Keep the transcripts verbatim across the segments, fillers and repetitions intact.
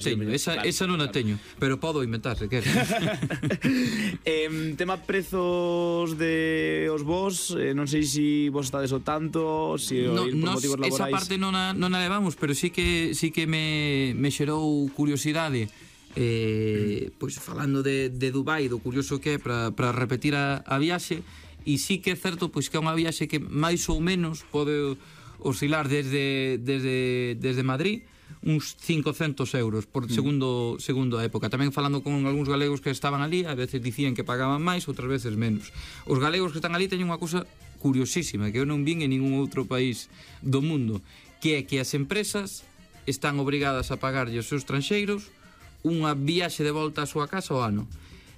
Teño, esa, claro, esa non a claro. teño, pero podo inventar se queres. eh, tema prezos de os vos, eh, non sei se vos estades o tanto, se No, ir por nos, motivos esa laborais. parte non a, non a levamos, pero sí que sí que me, me xerou curiosidade. Eh, pois falando de, de Dubai, do curioso que é para repetir a, a viaxe, e sí que é certo pois que é unha viaxe que máis ou menos pode oscilar desde, desde, desde Madrid uns cincocentos euros por segundo, segundo a época. Tamén falando con algúns galegos que estaban ali, a veces dicían que pagaban máis, outras veces menos. Os galegos que están ali teñen unha cousa curiosísima que eu non vin en ningún outro país do mundo, que é que as empresas están obrigadas a pagarlle aos seus estranxeiros unha viaxe de volta á súa casa ao ano.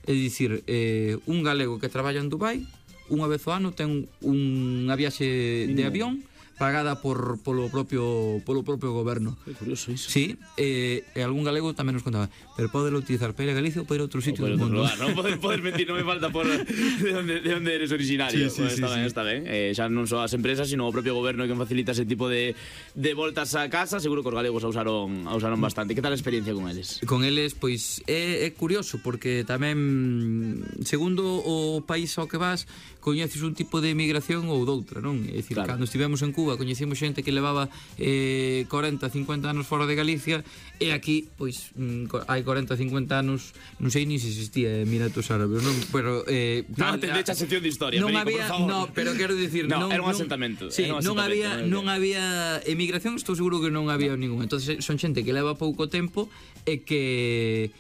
É dicir, eh, un galego que traballa en Dubai unha vez ao ano ten unha viaxe de avión pagada por polo propio polo propio goberno. Que curioso iso. Sí, eh, e algún galego tamén nos contaba, pero podelo utilizar para ir a Galicia ou para ir a outro sitio do mundo. Lugar, non podes poder mentir, non me falta por de onde de onde eres originario. Sí, sí, bueno, sí, está sí. ben, está ben. Eh, xa non só as empresas, sino o propio goberno que facilita ese tipo de de voltas a casa, seguro que os galegos a usaron a usaron bastante. Que tal a experiencia con eles? Con eles, pois, é, é curioso porque tamén, segundo o país ao que vas, coñeces un tipo de emigración ou doutra, non? É dicir, Claro. cando estivemos en Cuba coñecimos xente que levaba eh, cuarenta, cincuenta anos fora de Galicia, e aquí, pois, mm, co- hai cuarenta, cincuenta anos, non sei ni se existía Emiratos Árabes, non? Pero eh, Non atendeche a sección de historia, non Perico, había, por favor. no, pero quero dicir, No, non, era un non- asentamento, Sí, era un non asentamento, había, non non había emigración, estou seguro que non había ningún. Entonces son xente que leva pouco tempo e que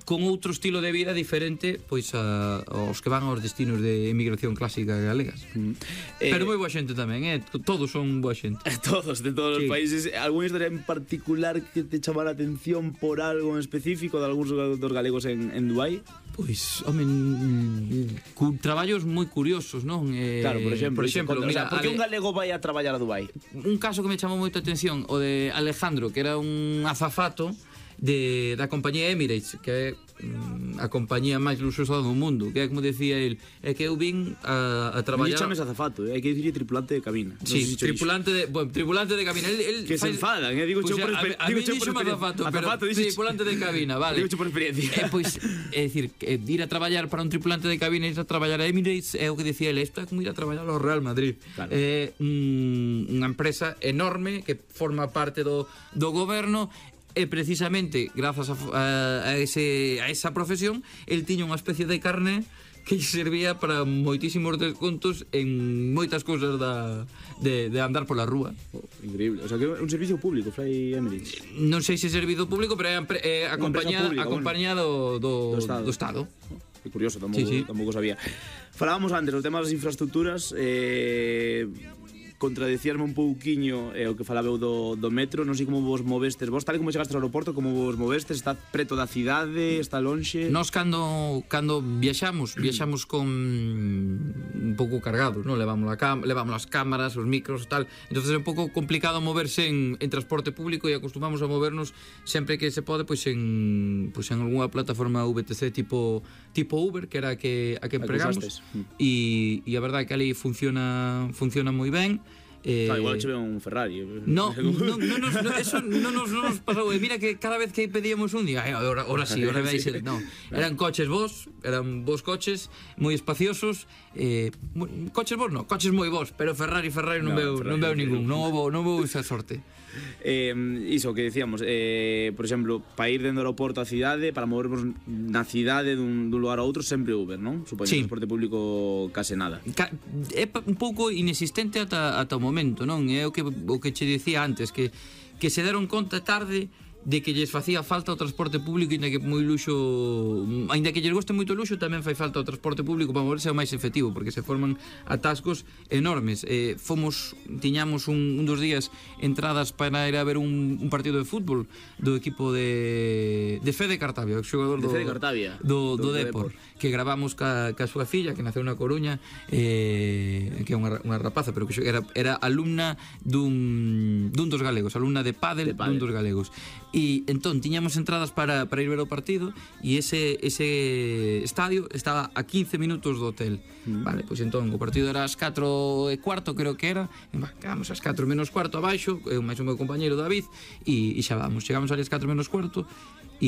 con outro estilo de vida diferente pois a, aos que van aos destinos de emigración clásica galegas. Eh, Pero moi boa xente tamén, eh? Todos son boa xente. Todos, de todos Sí. os países. ¿Alguna historia en particular que te chamara la atención por algo en específico de algúns dos galegos en, en Dubái? Pois, home, mm, cu traballos moi curiosos, non? Eh, Claro, por exemplo, por exemplo, o sea, mira, ¿por qué un Ale- galego vai a traballar a Dubái? un caso que me chamou moito a atención, o de Alejandro, que era un azafato de, da compañía Emirates, que é mm, a compañía máis luxosa do mundo, que é como decía el, é que eu vin a, a Non traballar. chames azafato, eh? Hai que dicir tripulante de cabina. Non Sí, sei se cho tripulante de, bueno, tripulante de cabina. El, el Que se enfadan, eh, digo Pois, yo por a- exper- a, a digo mí yo por díxome experiencia. azafato, pero Azafato, dices- tripulante de cabina, vale. Digo yo por experiencia. Eh, pois, é dicir, que ir a traballar para un tripulante de cabina e ir a traballar a Emirates é o que decía ele, isto é como ir a traballar ao Real Madrid. Claro. É un, unha empresa enorme que forma parte do, do goberno, e precisamente grazas a, a, a, ese, a esa profesión el tiña unha especie de carné que lle servía para moitísimos descontos en moitas cousas da, de, de andar pola rúa. Oh, increíble. O sea, que é un servicio público, Fly Emirates. Non sei se é servido público, pero é a, empre- é a Unha compañía, empresa pública, a compañía do, Do do, Estado. do Estado. Oh, que curioso, tampouco, Sí, sí. tampouco sabía. Falábamos antes do tema das infraestructuras, eh, contradicíasme un pouquiño eh, o que falaba eu do, do metro, non sei como vos movestes vos, tal e como chegaste ao aeroporto, como vos movestes, está preto da cidade, está lonxe? Nós cando cando viaxamos, viaxamos con un pouco cargados, non? Levamos a cam levamos as cámaras, os micros, tal. Entonces é un pouco complicado moverse en, en transporte público e acostumamos a movernos sempre que se pode pois en pois en algunha plataforma V T C tipo tipo Uber, que era a que a que A que empregamos. usastes. Mm. E e a verdade é que ali funciona funciona moi ben. Eh, Claro, igual che ve un Ferrari. No, no, no, nos, no, eso no nos, no nos pasou. E mira que cada vez que pedíamos un día, ahora, ahora sí, ahora vais a... No, eran coches vos, eran vos coches moi espaciosos, eh, mo- coches vos no, coches moi vos, pero Ferrari, Ferrari non No, veo, Ferrari non veo non ningún, veo. non houve, non houve esa sorte. Eh, iso que decíamos, eh, por exemplo, para ir dentro do aeroporto á cidade, para movernos na cidade dun, dun lugar a outro, sempre Uber, non? Supoño Sí. que transporte público case nada. Ca- é pa- un pouco inexistente ata, ata o momento, non? É o que, o que che dicía antes, que, que se deron conta tarde de que lles facía falta o transporte público, ainda que moi luxo, ainda que lles goste moito o luxo, tamén fai falta o transporte público para moverse o máis efectivo, porque se forman atascos enormes. Eh, fomos, tiñamos un, un dos días entradas para ir a ver un, un partido de fútbol do equipo de de Fede Cartavia, o xogador De do Fede Cartavia. do, Do- do, do Depor, Depor. que gravamos ca, ca súa filla, que naceu na Coruña, eh, que é unha, unha rapaza, pero que xo- era, era alumna dun, dun dos galegos, alumna de pádel, De pádel. dun dos galegos. e entón tiñamos entradas para, para ir ver o partido e ese, ese estadio estaba a quince minutos do hotel. Mm. Vale, pois entón o partido era ás catro e cuarto, creo que era, e bah, quedamos ás catro menos cuarto abaixo, eu máis o meu compañeiro David, e, e xa vamos, chegamos ali ás catro menos cuarto,